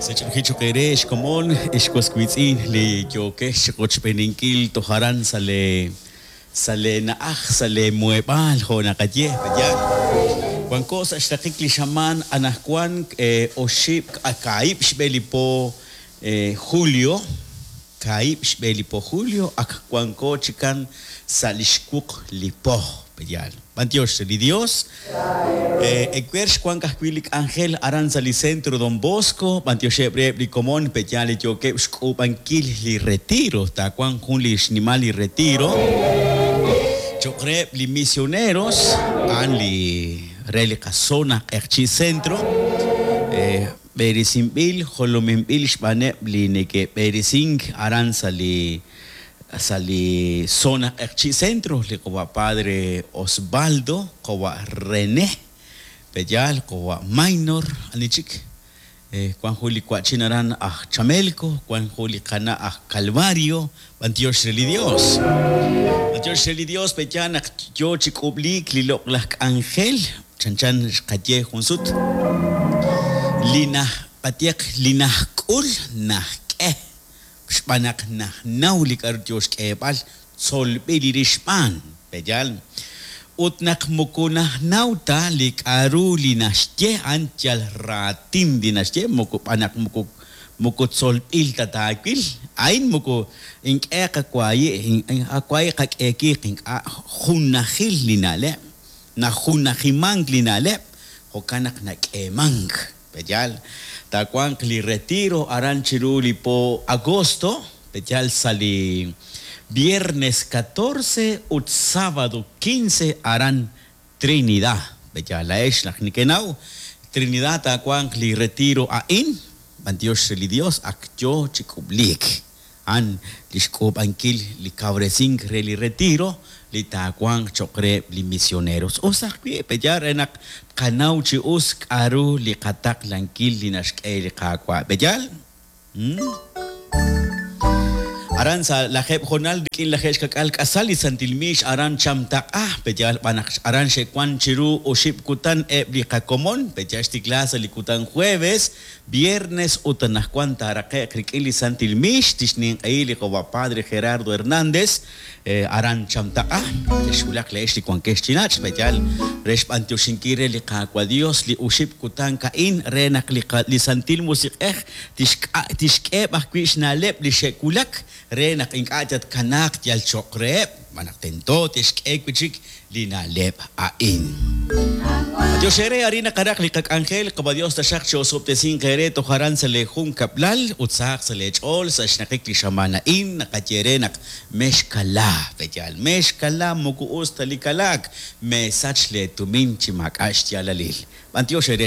Sach'ilji choq' eere xkomon ex was wiitz'in li yookex chiqochb'eeninkil toj aran sa' lee sa' lee na'aj, sa' lee muheb'aal jo' naqaye, pe'yaal? Wanko sa' xraqik li xamaan anajwan oxib' kaahib' xb'e li po julio, kaahib' xb'e li po julio ak wanko chikan sa' li xwuq li po, pe'yaal? B'antiox re li Dios. Ewer xwank ajwi' li k'anjel aran sa' li Centro Don Bosco, b'antioxeb' reheb' li komon pe'yaal li yookeb' xk'uub'ankil li retiro, taawanq jun li xnimal li retiro cho'q reheb' li misioneros, a'an li re li qazona Q'eqchi' Centro, b'eresinb'il, jolominb'il xb'aaneb' li neke'b'eresink aran sa' li Sa' li zona Q'eqchi' Centro, li qawa' Padre Osvaldo, qawa' René, pe'yaal, qawa' Maynor, ani chik? Wan jun li wa'chin aran aj Chamelco, wan jun li qana' aj Calvario, b'antiox re li Dios. B'antiox re li Dios, pe'yaal naq yoo chi k'ub'liik li loq'laj k'anjel, chanchan xqaye jun sut, li naj, qayehaq, li najk'ul najk'e. Xb'aan naq najnaw li k'a'ru yoo xk'eeb'al, tzolb'il li rix xb'aan. Pe'yaal? Ut naq moko najnaw ta li k'a'ru li naxye, a'an yal raatin li naxye, moko b'aan naq moko moko tzolb'il ta taawil. A'in moko ink'e qawaayi', qawaayi' qak'eekiiq ink'a' junajil li na'leb', najunajimank li na'leb', jo'kan naq nak'eemank. Pe'yaal? Taawanq li retiro aran chiru li po agosto, pe'yaal sa' li viernes catorce ut sábado quince aran Trinidad. Pe'yaal laa'ex naq nekenaw, Trinidad taawanq li retiro a'in, b'antiox re li Dios ak yoo chi k'ub'liik. A'an lix k'uub'ankil li kawresink re li retiro li taawanq choq' reheb' li misioneros. Us ajwi' pe'yaal re naq tqanaw chi us k'a'ru li qataqlankil li naxk'e li Qaawa'. Pe'yaal? Aran sa' lajeeb' honal rik'in 70 k'asal li Santil Miix aran Chamtaq'a, pe'yaal b'an naq aran xe'wan chiru oxib' kutan eb' li qakomon, pe'yaal xtikla sa' li kutan jueves, Viernes ut anajwan taaraqe'q rik'in li Santil Miix tixninq'ehi li Qawa' Padre Gerardo Hernández aran Chamtaq'a. Texwulaq le'ex li wankex chi nach', pe'yaal re xb'antioxinkil re li Qaawa' Dios li oxib' kutan a'in re naq li li Santil Musiq'ej tixk'eheb' ajwi' xna'leb' li xe'wulak re naq ink'a' tatkanaaq yal cho'q reheb', xb'aan naq tento te'xk'e wi' chik li na'leb' a'in. B'antiox eere, arin naqaraq li qak'anjel, Qawa' Dios taxaq chi'osob'tesinq eere toj aran sa' lee junkab'lal ut sahaq sa' lee ch'ool sa' xnaqik li xamaan a'in, naqaye eere naq mexkala, pe'yaal, mexkala moko us ta li kalaak, meesach lee tumin chi maak'a' xyaalalil. B'antiox eere.